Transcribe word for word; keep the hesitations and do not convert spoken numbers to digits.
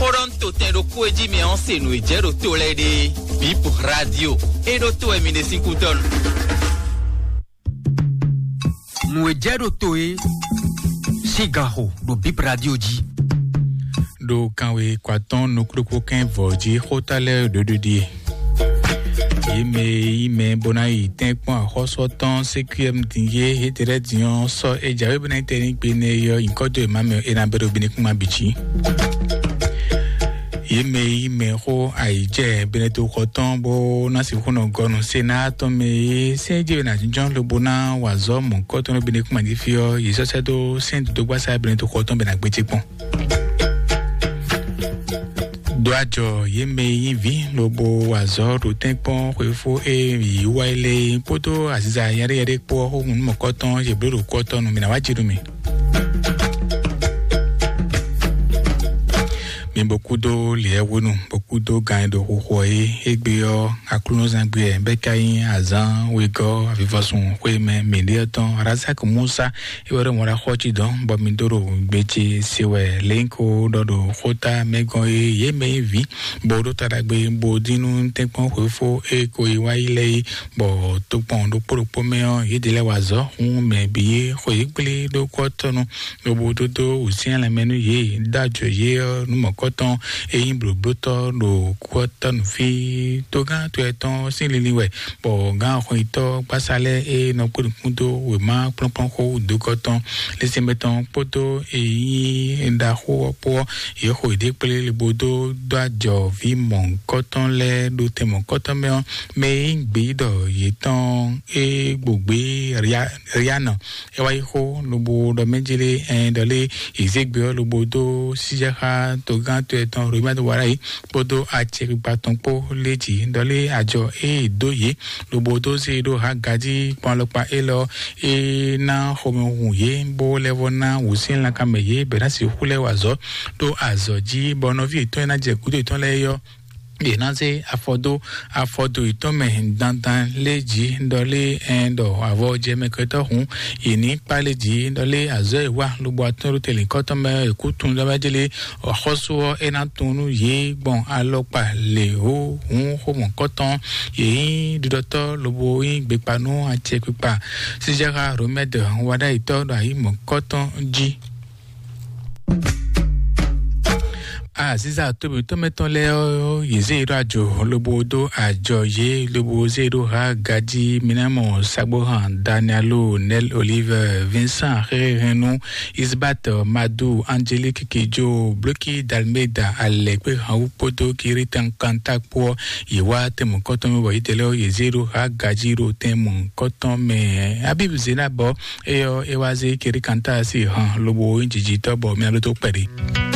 Toronto tɛn ɖokpó e jí mi ɔ́ se nǔ e jɛ ɖo to lɛ́ɛ ɖe. Bip Radio e ɖo to wɛ mi ɖe sín kúdɔnu. Nǔ e jɛ ɖo to e sín ganxo ɖo Bip Radio jí. Ɖo kanwe kwatɔn nukúɖokpó kɛn vɔ jí xóta lɛ́ɛ ɖoɖo ɖie. Yě mɛ e yí mɛ bó ná yi tɛ́nkpɔ́n axɔ́sú tɔn C Q M din yé étɛ́ lɛ́ɛ din ɔ́ sɔ́ é jǎwe bó ná yi tɛ́ ní gbe nɛ yɔ nyǐkɔ dó è má mɛ é ná bɛ́ ɖo bínú kún má bǐ jí. Yě mɛ e yí mɛ xó ayǐjɛ Benɛto xɔ tɔn bó ná sixú nɔ gɔ́ nú Senáa tɔn mɛ é sɛ́n jɛ ná jínjɔ́n lobo ná wa azɔ̌ mɔ̌hunkɔtɔn nú Benɛkúma jí fí ɔ́, yě sɔ́ sɛ́ dó sɛ́n dodógbasá Benɛto xɔ tɔn bɛ ná gbéjé kpɔ́n. Dó ajɔ yě mɛ e nyí vǐ lobo wa azɔ̌ ɖo tɛ́nkpɔ́n xwefó e yǐ wá yi lɛ́ɛ kpódó aziza yɛɖéyɛɖé kpó ɔ́ xóhun nú mɔ̌kɔtɔn yě bló ɖo kú ɔ́ tɔn nú mǐ ná wá jí nú mì. Mi bó kúdó lǐɛ́hwenu, bó kúdó gan e ɖo xuxu ɔ́ é. Égbé ɔ́, aklúnɔzán gbe ɛ bɛ́ ka nyí azǎn wegɔ́ avivɔsun xwé mɛ mǐɖée ɔ́ tɔn Razak Musa, é wɛ ɖo mɔ ɖo axɔ́ cí dɔn, bɔ mi dó ɖo gbe ce se wɛ lěnko ɖɔ ɖo xóta mɛ gɔ́n é. Yě mɛ nyí vǐ, bó ɖó ta ɖagbe, bó dín nú tɛ́nkpɔ́n xwefó e ko yi wá yi lɛ́ɛ é, bɔ tokpɔn ɖokpó ɖokpó mɛ ɔ́, yědɛɛ lɛ́ɛ wa azɔ̌ hún mɛ bǐ é xo yě kplé ɖó kú ɔ́ tɔn nu. Lobo dó dó wǔsyɛ́n lanmɛ nú yě, dó ajɔ yě ɔ́ nú mɔ̌kɔtɔn e nyí blǒblótɔ́ ɖo kú ɔ́ tɔ́ nú fí. Togán to yɛtɔn sín linlin wɛ, bɔ gǎn xɔnyitɔ́ gbásá lɛ́ɛ e nɔ kpé nukún dó wěma kplɔ́nkplɔ́n xó dǒkɔ́tɔn lɛ́sɛnmɛ tɔn kpódó e nyí ɖaxó ɔ́ kpó ɔ́, yě xo yěɖée kplé lobo dó dó ajɔ vǐ mɔ̌kɔtɔn lɛ́ɛ ɖo tɛn mɔ̌kɔtɔn mɛ ɔ́, mɛ e nyí gbeyíɖɔ yětɔn e gbǒgbé Rianɔ. É wá yi xó lobo ɖɔ mɛ jí lé, ɛn ɖɔ lé, yě zé gbe ɔ́ lobo dó síjɛxá togán to yɛtɔn Romɛ́ wá ɖ'ayǐ kpódó acɛkpikpa tɔn kpó lé jǐ ɖɔ lé, ajɔ e è dó yě lobo dó zé ɖó Haga jí kpɔ́n alɔkpa élɔ́ e ná xomɛ hun yě, bó lɛ́ vɔ́ ná wǔsyɛ́n lankan mɛ yě bɛ ná sixú lɛ́ wa azɔ̌ ɖó azɔ̌ jí, bɔ nɔví yětɔn e ná jɛ gǔdo yětɔn lɛ́ɛ é ɔ́, yě ná zé afɔ dó afɔdo yětɔn mɛ dandan lé jǐ ɖɔ lé, ɛn ɖɔ avɔ jɛ mɛ kɛtɔ́ hǔn yě ní kpá lé jǐ ɖɔ lé, azɔ̌ e wa lobo atɔ́n ɖo tɛlǐnkɔ́tɔn mɛ è kú tun ɖɔ mɛ jélé, axɔ́sú ɔ́ é ná tun nú yě gbɔn alɔkpa lě hó hǔn xomɔ̌kɔtɔn. Yě nyí ɖiɖɔtɔ́ lobo nyí gbekpa nú acɛkpikpa sísɛ́xá Romɛ́d wá ɖ'ayǐtɔ́ ɖo ayǐ mɔ̌kɔtɔn jí. Aziza tóbitɔ́ mɛtɔn lɛ́ɛ ɔ́, yě zé yě ɖó ajo lobo dó ajɔ yě, lobo zé yě ɖó ha gají. Mi ná mɔ Sagbohan, Danielo, Nel Olive, Vincent Xexexenu, Isbat Madu, Angélique Kidjo, Bloki Dalmeda, Alɛkpe Hanwu kpódó Kiritan Kanta kpó ɔ́, yě wá tɛnmɔkɔtɔn mɛ bɔ yě tɛ lɛ́ɛ ɔ́, yě zé ɖó ha gají ɖo tɛnmɔkɔtɔn mɛ. Abib Zenabɔ, é ɔ́, é wá zé Kiritan ta sí han lobo nyí jijitɔ́ bɔ mɛ ló tó kpɛɖé.